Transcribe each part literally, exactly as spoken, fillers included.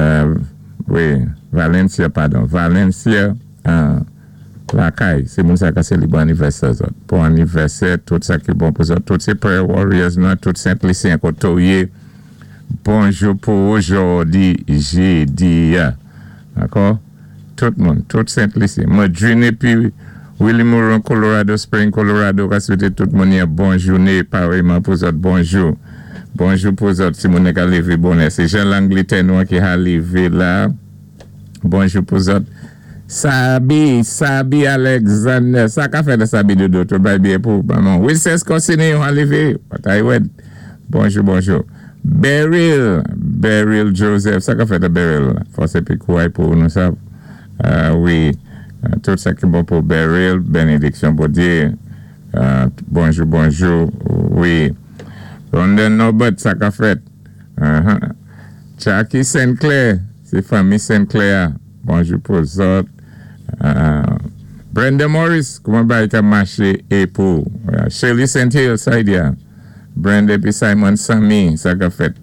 Euh, wi, Valencia, padon. Valencia, euh, Lakay. Sé moun sa ka sélibwé anivèsè zòt. Bon anivèsè, tout sa ki bon pou zòt. Tout sé prayer warriors nou, tout Sent Lisyen koté ou yé. Bonjou pou òjòdi, jédi. Dakò? Tout moun, tout Sent Lisyen. Madrine épi Willie Moran, Colorado Spring, Colorado, ka swété tout moun yon bon jouné, parèyman pou zòt, bonjou. Bonjou pou zòt, si moun ka lévé bonè. Sé jan Langlétè nou ki ka lévé la. Bonjou pou zòt. Sabi, Sabi Alexander, sa ka fèt Sabi dodo, tout bay byen pou maman. Wilson Corsini, ou lévé, wè. Bonjou, bonjou. Beryl, Beryl Joseph, sa ka fèt Beryl. Fòs épi kouway pou nou sa. Euh, wi, tout sa ki bon pou Beryl, bénédiksyon Bondyé. Euh, bonjou, bonjou, wi. London Norbert, sa ka fèt. Uh-huh. Jackie Sinclair, sé fanmi Sinclair. Bonjou pou zòt. Uh, Brenda Morris, kouman bay ka maché é pou. Uh, Shirley Saint Hill, Saidia. Brenda épi Simon Sammy, sa ka fèt.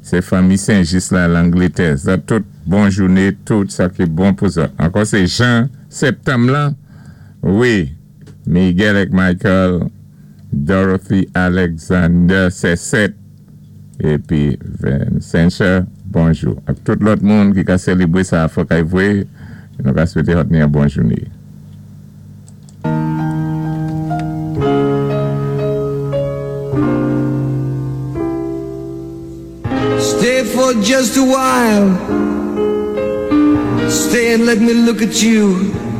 Sé fanmi Saint-Just la, Langlétè. Sa tout bon jouné, tout sa ki bon pou zòt. Ankò sé Jean septanm la. Wi. Miguel et Michael, Dorothy Alexander, sé sèt. Épi Vincent, bonjou. Ak tout lòt moun ki ka sélibwé sa fò kay vwé, nou ka swété zòt yon bon jouné. Stay for just a while. Stay and let me look at you.